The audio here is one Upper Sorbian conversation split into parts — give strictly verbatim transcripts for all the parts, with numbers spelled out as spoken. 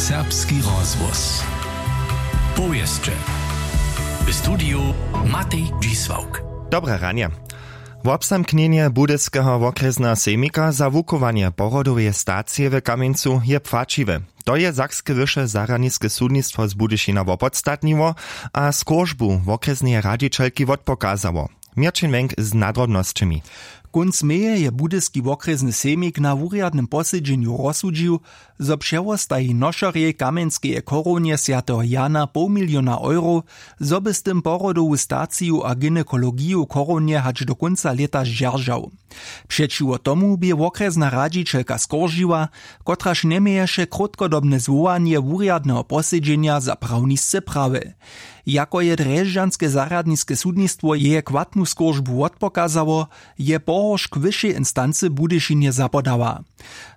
Serbski rozhłos. Powěsće. W studiju Matej Dźisławk. Dobre ranje. Wobzamknjenje Budyskeho wokrjesneho sejmika za wuchowanje pohrodoweje stacije w Kamjencu je płaćiwe. To je sakske wyše zarjadniske sudnistwo z Budyšina wopodstatniło a skóržbu wokrjesneje radźićelki wotpokazało. Měrćin Wenk z nadrobnosćemi. Kónc meje je Budyski wokrjesny sejmik na wurjadnym posedźenju rozsudźił, zo přewostaji nošerjej kamjenskeje chorownje swjateho Jana poł miliona eurow, zo by z tym pohrodowu staciju a gynekologiju chorownje hač do kónca lěta zdźeržał. Přećiwo tomu bě wokrjesna radźićelka skóržiła, kotraž njeměješe krótkodobne zwołanje wurjadneho posedźenja za prawnisce prawy. Jako je drježdźanske zarjadniske sudnistwo jeje chwatnu skóržbu wotpokazało, je pohoršk wyšej instancy w Budyšinje zapodała.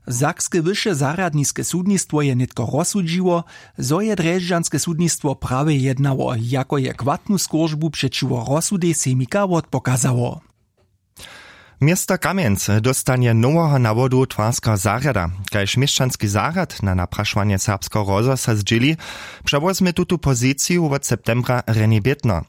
Sakske wyše zarjadniske sudnistwo je nětko rozsudźiło, zo je drježdźanske sudnistwo prawje jednało, jako je chwatnu skóržbu přećiwo rozsudej sejmika wotpokazało. Město Kamjenc dóstanje noweho nawodu twarskeho zarjada. Kaž měšćanski zarjad na naprašowanje serbskeho rozhłosa zdźěli, přewozmě tutu poziciju wot septembra René Bětner.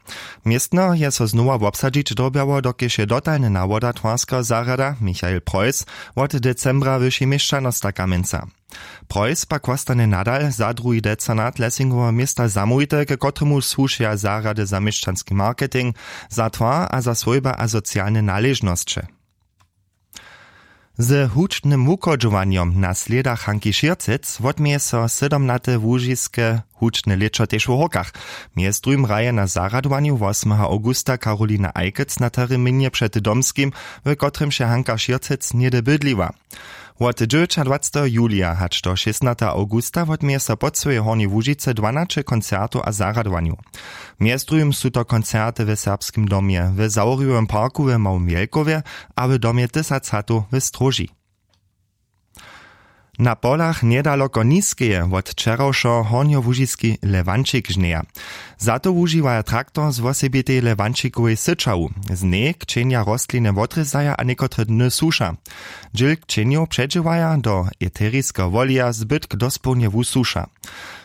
Městno je so znowa wobsadźić dyrbjało, dokelž je dotalny nawoda twarskeho zarjada Michael Preuss wot decembra wyši měšćanosta Kamjenca. Preuss pak wostanje nadal za druhi decanat Lessingoweho města zamołwity, k kotremu słušeja zarjady za měšćanski marketing, za twar a za swójba a socialne naležnosće. Ze hudźbnym wuchodźowanjom na slědach Hanki Šěrcec wotměje so sydomnate łužiske hudźbne lěćo tež w Hórkach. Mjez druhim hraje na zarjadowanju wosmeho awgusta Karolina Eickels na terminje před Domskim, w kotrymž je Hanka Šěrcec něhdy bydliła. Wot dźewjećadwaceteho julija hač do šěsnateho awgusta wotměje so po cyłej Hornjej Łužicy dwanaće koncertow a zarjadowanjow. Mjez druhim su to koncerty w Serbskim domje, w Zawrjowym parku w Małym Wjelkowje a w domje Tysac hatow w Stróži. Na polach njedaloko Niskeje wot wčerawšo hornjołužiski Lewančik žnjeja. Za to wužiwaja traktor z wosebitej Lewančikowej syćawu. Z njej kćenja rostliny wotrězaja a někotre dny suša. Dźěl kćenjow předźěłaja do eteriskeho woleja, zbytk dospołnje wusuša.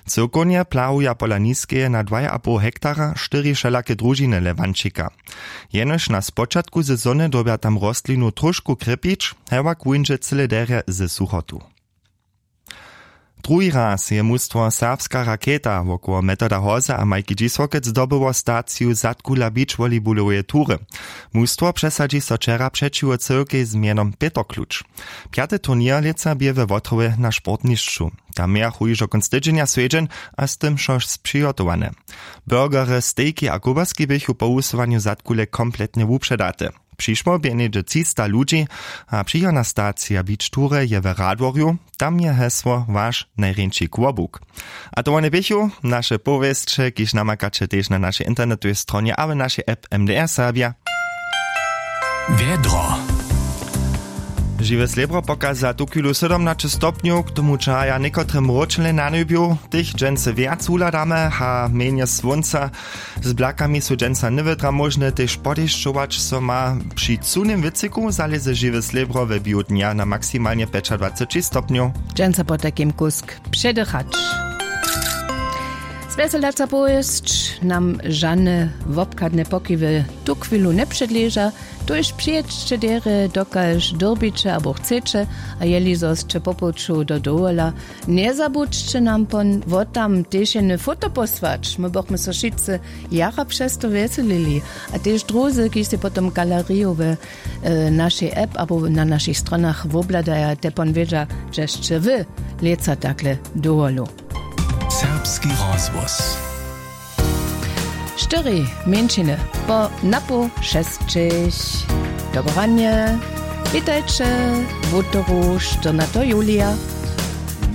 Cyłkownje plahuja pola Niskeje na dwaj a poł hektara štyri wšelake družiny Lewančika. Jenož na spočatku sezony dyrbja tam rostlinu tróšku krěpić, hewak wuńdźe cyle derje ze suchotu. Druhi raz je mustwo Serbska raketa wokoło Metoda Hoza a Majki Dźisławkec zdobyło staciju zadkula beachvolleybuloweje tury. Mustwo přesadźi so wčera přećiwo cyłkej z mjenom Pětr Kluč. Pjaty turněr lětsa bě we Wotrowje na sportnišću. Tam mějachu hižo kónc tydźenja swjedźeń a z tym wšo přihotowane. Burgery, stejki a kołbaski běchu po wusyłanju zadkule kompletnje wupředate. Přišło bě něhdźe třista ludźi a přichodna stacija beach tury je w Radworju. Tam je hesło Waš najrjeńši kłobuk. A to wone běchu naše powěsće, kiž namakaće tež na našej internetowej stronje a w našej app M D R Serbja. Wjedro. Žiwe slěbro pokaza tuchwilu sydomnaće stopnjow, k tomu čahaja někotre mróčele na njebju. Tych dźensa wjac wuhladamy a mjenje słónca. Z blakami su dźensa njewětra móžne, tež podešćować so ma. Při cyłnym wětřiku zalěze žiwe slěbro we běhu dnja na maksimalnje pjećadwaceći stopnjow. Dźensa potajkim kusk předychać. Zwjeselaca powěsć nam žane wobchadne pokiwy tuchwilu njepředleža. Tuž přijědźće derje, dokelž dyrbiće abo chceće, a jeli zo sće po puću do dowola, njezabudźće nam pon wotam tež jene foto posłać. My bychmy so wšitcy jara přez to wjeselili. A tež druzy, kiž sej potom galeriju we e, našej app abo na našich stronach wobhladaja, te pon wědźa, hdźež sće wy lětsa takle dowolu. Serbski rozhłos. Štyri mjeńšiny po napoł šesćich. Dobranje. Witajće, wutoru, štyrnateho julija.